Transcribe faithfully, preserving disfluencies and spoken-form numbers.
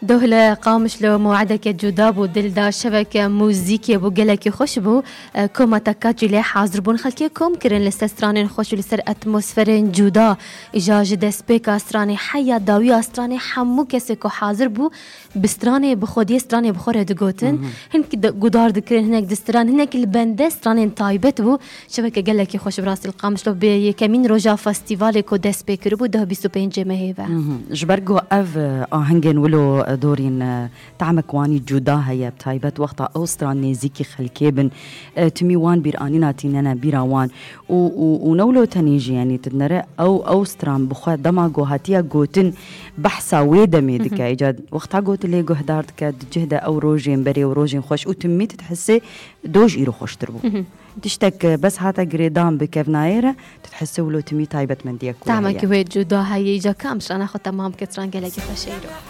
Doh li Qamişlo mewedeke cuda bû, dil da şeveke muzîkê bû, gelekî xweş bû. E, koma te kaçî lê hazir bûn, xelkê kom kirin li ser stranên xweş û li ser atmosferên cuda. Îja ji destpêka stranê heya dawiya stranê hemû kesê ku hazir bû, bi stranê bi xwediyê stranê bi xwe re digotin. Hinek de-, gudar dikirin, hinek distiran, hinek li bende stranên taybet bû. Şeveke gelekî xweş bi rastî li Qamişlo bi yekemîn roja festîvalê ku dest pê kiribû, deh bîst û pêncê mehê ve. Mhm. Ji ber ku ev, e, ahengên wilo, e, dorîn, e, tamek wanî cuda heye, bi taybet wexta ew stran nêzîkî xelkê bin, e, timî wan bîranîna tînene bîra wan. Û, û, û ne wilo tenê jî, yanî tu dinere ew, ew stran bi xwe dema ku hatiye gotin behsa wê demê dike. Îca wexta gotin lê guhdar dike, di cih de ew rojên berê û rojên xweş û timî tu dihesê doj îro xweştir bû. Tiştek, e, bes hate girêdan bi kevnayê re, tu dihesê wilo timî taybetmendiyek wê heye. Tamekî wê cuda heye, îca kam strana xwe temam bike, stran gelekî xweş e îro.